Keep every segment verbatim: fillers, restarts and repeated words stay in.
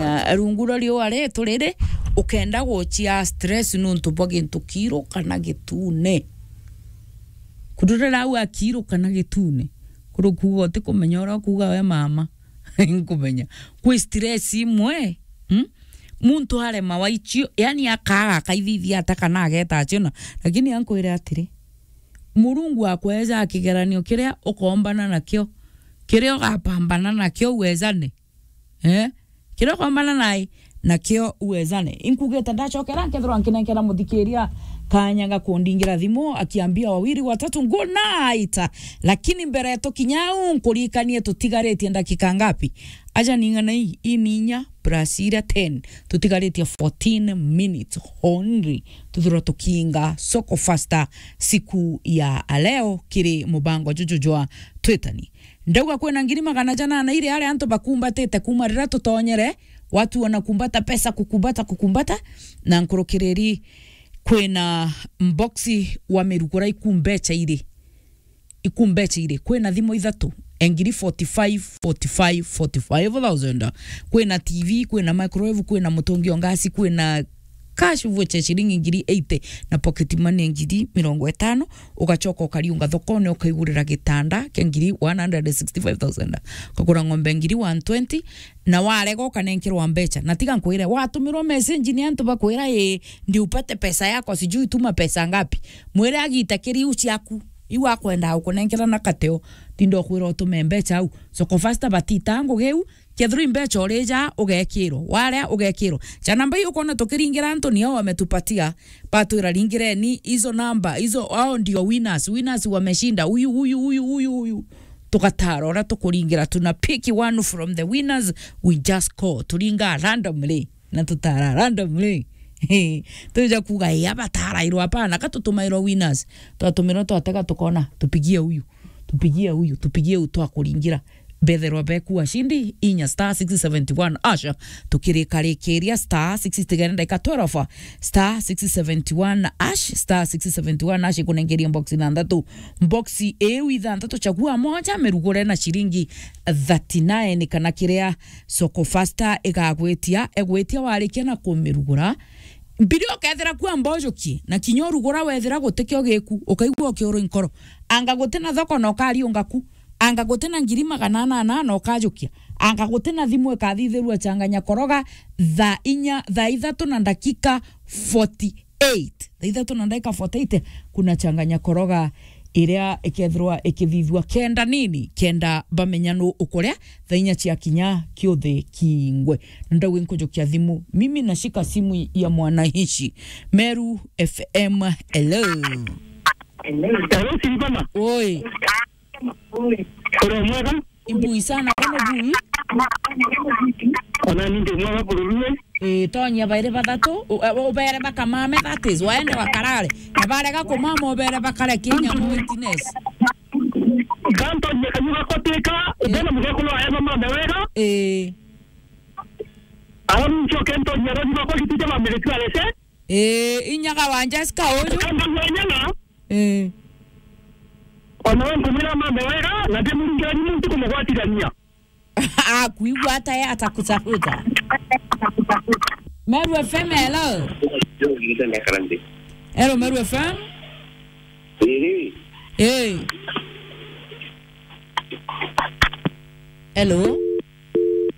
Ah, rungu rwa riua ritu riri, ukenda guchia stress nuntu bwa gintu kiiru kana gitune. Kururira au akiiru kana gitune, kuri kuuga utikumenya uria ukuuga we mama. Nkumenya. Kwi stress imwe, hmm? Muntu arema waichio, yani akaaga akaithithia ata kana ageta achiona. Lakini ankwire atiri, Murungu akweja kigeranio kiria ukoombana nakio, kiria ugapambana nakio uwejane. Eh? Kiria ukombana nae, nakio uwezane. Inkugite ndachokera, nkethirwa nkinenkera muthikiria kanya ga kundingira thimu, akiambia wawiri watatu, "Good night." Lakini mbere tukinya au, nkurikanie tutigaritie ndakika ngapi? Aja ning'ana ii, ii ni inya plus iria ten. Tutigaritie fourteen minutes only. Tuthirwa tukiinga soko faster siku ya leo kiri mubango juju jwa Twitani. Ndauga kwina ngiri magana janana iri aria antu bakumbatite kuuma riria tutonyere, watu wanakumbata pesa, kukumbata, kukumbata, na nkurukiriri kwina mboxi wa mirugura ikumbecha iri. Ikumbecha iri. Kwina thimu ithatu, e ngiri forty-five, forty-five, forty-five thousand. Kwina T V, kwina microwave, kwina mutungi o ngasi, kwina cash voucher ciringi ngiri eighty, na pocket money ngiri mirongo itano, ugachoka ukariunga thokone ukaigurira gitanda kia ngiri one hundred and sixty-five thousand, ukagura ng'ombe ngiri one twenty, na warega ukanenkerwa mbecha. Na tiga nkwire, watumirwa message ni antu bakwira, "Ii, ndi upate pesa yako, sijui tuma pesa ngapi." Mwire agita kiri iu ciaku, iu akwenda gukunenkera na kateo, tinda ukwira utume mbecha au. Soko Faster batita ngugi iu, kethirwa imbecha urija, ugekirwa. Waria, ugekirwa. Cha namba hiyo ukoona tukiringira antu nio wametupatia. Batwira, "Ringireni hizo namba, hizo, hao ndio winners. Winners wameshinda. Huyu, huyu, huyu, huyu, huyu." Tugatara uria tukuringira. Tuna pick one from the winners. We just call. Turinga randomly. Na tutara randomly. Tuja kuuga, "Ii, abatarairwa, hapana, ka tutumairwa winners." Twatumirwa twatega tukona, "Tupigie huyu. Tupigie huyu, tupigie huyu," twakuringira. Betherwa beku ashindi inya star six seventy one hash. Tukirikarikiria star six, tigere ndagika twelve, star six seventy one hash, star six seventy one hash ikunengeria box ithanthatu. Box iu ithanthatu, chagua moja, mirugure na shilingi thirty-nine kana kiria Soko Faster igagwitia, egwitia warikia na kumirugura. Mbiri ukethira kuo mbojukie, na kinya urugura wethira gutikio giku, ukaigua ukiurwa inkoro. Anga gutina thoko na ukariunga ku. Anga gutina ngiri magana anana na ukajukia. Anga gutina thimu ikathithirua changanya koroga thaa inya, thaa ithatu na ndakika forty-eight. Thaa ithatu na ndakika forty-eight, kuna changanya koroga iria ikethirwa ikithithua kenda nini, kenda bamenya nu ukuria, thaa inya cia kinya kiuthi kingwe. Na ndauga nkujukia thimu, mimi nashika simu ya mwananchi. Meru F M, hello. Hello, Silvana. Oi. Uri mwega? Imbui sana, kono bui. Ona ni ndi mwega kururue. Eh, tonyia bairi bathatu, u-, u-, ubere bakamame, that is, waende wakarare. Na barega kumama, ubere bakare kinya mu witness. Ganto nyeka nyuga kotika, ubere mugekuru aema mame wega. Eh. Aho nchoke nto nyero nyuga ko gitite bamire tu arese. Eh, inyaga wa Jessica uyu. Kamba mwenyaga. Eh. Ona we nkumwira mame wega, na ndimuringira ni muntu kumugwatirania. Akuigua ata ye atakutafuta? Meru F M, hello. Hello, Meru F M. Ii. Eh. Hello.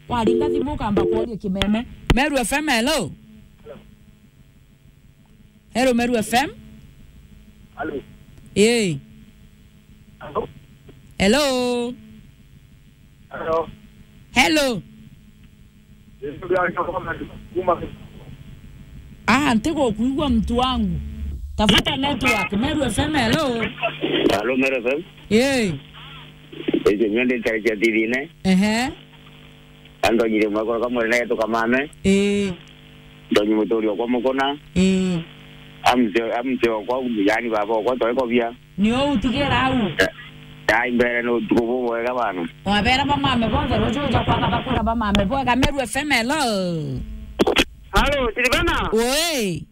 Waringa thimu ukamba kuoria kimeme. Meru F M, hello. Hello, Meru F M. Hello. Hey. Hello. Hello. Hello. Hello. Ah, ntigukuigua mtu wangu. Tafuta network. Meru F M, hello. Hello, Meru F M. Hey. Ije nyende tare cha T V ne. Ehe. Andonyire mwekoro kamwe naye tukamame. Ii. Ndonyi muturi okwa mukuna. Ii. Amse, amse okwa, yani baba okwa toekobia. Nio utigira au. Ai mbere no tuko bwega bana. Wabera bamame bonthe rujuja kwaka bakura bamame bwega. Meru F M, hello. Halo, Silvana. Oi.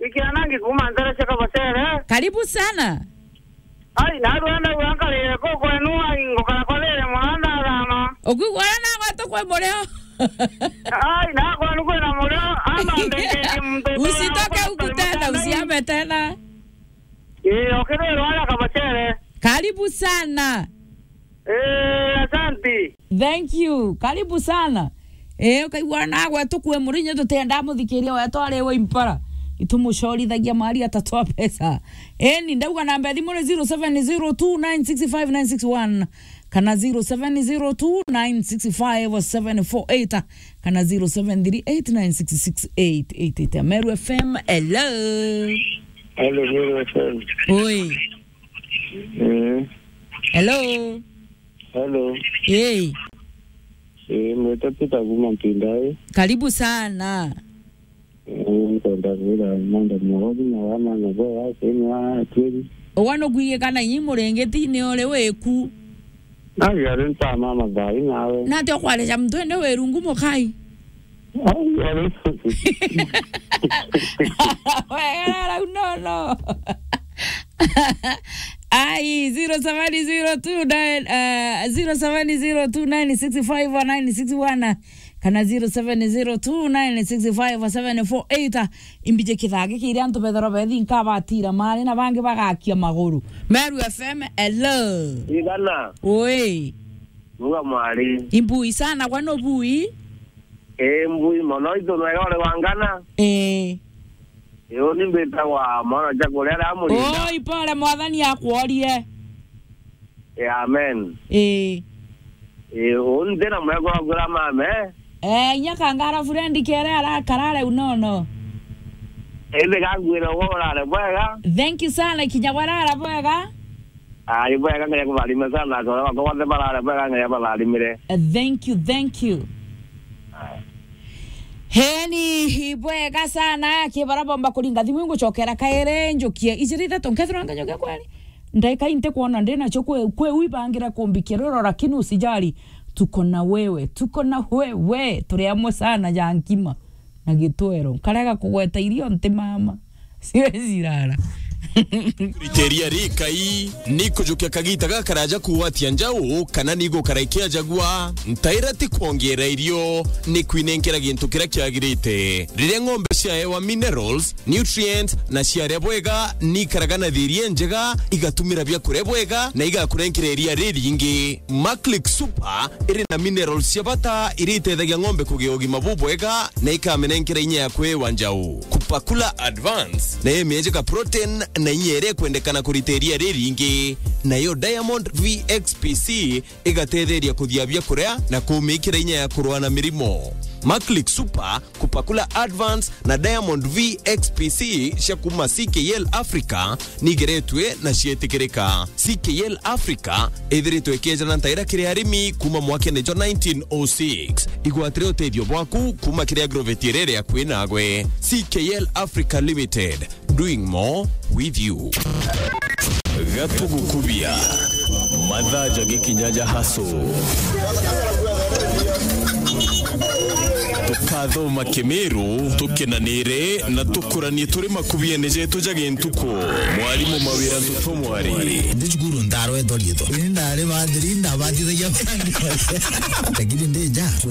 Ikiana ngikuma ntere cia Kabacere. Karibu sana. Ai, narua ndauga nkarire ku kwenu, ai, ngukara kwa thire muno ndathama. Ukwigua uria nagwetwo kwi murio? Ai, na kwa nuko na murio, ama ndeke mtu. Usitoke huku tena, usiame tena. Eh, okay, leo ala kabachere. Karibu sana. Eh, asante. Thank you. Karibu sana. Eh, ukaigua nagwe tukue murinya tutenda muthikiria wetu ari we impara. Itumucorithagia mari atatwa pesa. Eh, ni ndauga namba ya thimu ni zero seven zero two nine six five nine six one kana zero seven zero two nine six five seven four eight kana zero seven three eight nine six six eight eight eight. Meru F M, hello. Hello, Meru F M. Oi. Eh. Hello. Hello. Hey. Eh, mwita Peter kuma Mpindai. Karibu sana. Eh, nkwenda kwira manda mwothi na wana na bo wa sini wa twiri. Wana kwiye kana nyi murengeti ni ore weku. Na yare nta mama thai nawe. Na te kwareja mtu ende weru ngumo kai. Ai, ai. Wewe, no, no. Ai, zero seven zero two nine, eh, zero seven zero two nine six five nine six one kana zero seven zero two nine six five seven four eight. Imbije kithagi kiria antu bethero bethi nkabatira mari na bangi bagakia maguru. Meru F M, hello. Igana. Oi. Muga mwari. Imbui sana, gwa no bui? Ee, mbui mono, itu nwega uri wangana? Ee. Ee, uni mbitagwa mwana ja kuria aria amurinda. Oi, pole, mwathani akworie. Ee, amen. Ee. Ee, uni ndina mwega wa kura mame. Ee, inya kangara furendi kere ara karare unono. Indi gangwira ugo urare bwega. Thank you sana, kinya gwarara bwega. Ai, bwega, Ngai akutharime sana, na antu aria bakwa bonthe barare bwega, Ngai abatharimire. Uh, thank you, thank you. Heni, bwega sana, ki bara bomba kuringa thimu, ngucokera kairi, njukie ijiri ithatu, nkethirwa nganyokia kweri. Ndaika inte kwona ndi nacio kwe, kwe wibangira kumbikia roro, lakini usijali, tuko na wewe, tuko na wewe, turi amwe sana ja nkima. Na gitwero. Nkarega kugweta irio nti mama. Siwezi rara. Kuriteria rikai, ni kujukia kagita gakaraja kugwatia njau, kana ni gukara ikiajagua, ntaira ti kwongeera irio, ni kwinenkera gintu kiria kiagirite. Riria ng'ombe ciaewa minerals, nutrients, na ciaria bwega, ni ikaraga na thiria njega, igatumira biakuria bwega, na igakurenkera iria riringi. Maclick Super iri na minerals cia bata iria itethagia ng'ombe kugia ugima bubwega na ikamenenkera inya ya kwiwa njau. Kupakula Advance nayo imiejeka protein na inya iria ikwendekana kurita iria riringi. Nayo Diamond V X P C igatetheria kuthia biakuria na kumikira inya ya kurua na mirimo. Maclick Super, Kupakula Advance na Diamond V X P C cia kuma C K L Africa nigeretue na cietikirika. C K L Africa ithiritwe ikiejana ntaira kiri arimi kuma mwakene jwa nineteen oh six. Igwatire utethio bwaku kuma kiri agrovet iria iri akui nagwe. C K L Africa Limited, doing more with you. Gatugukubia. Mathaa ja gikinya ja haso. Tukathoma Kimiru, tukenanire na tukuranie turi makubiene jetu ja gintuku. Mwarimu Mawira Ntutu Mwari. Ndi cukuru ndarwe ithori itho. Ni ndari bathiri, ndabathithagia. Lakini ndi nja.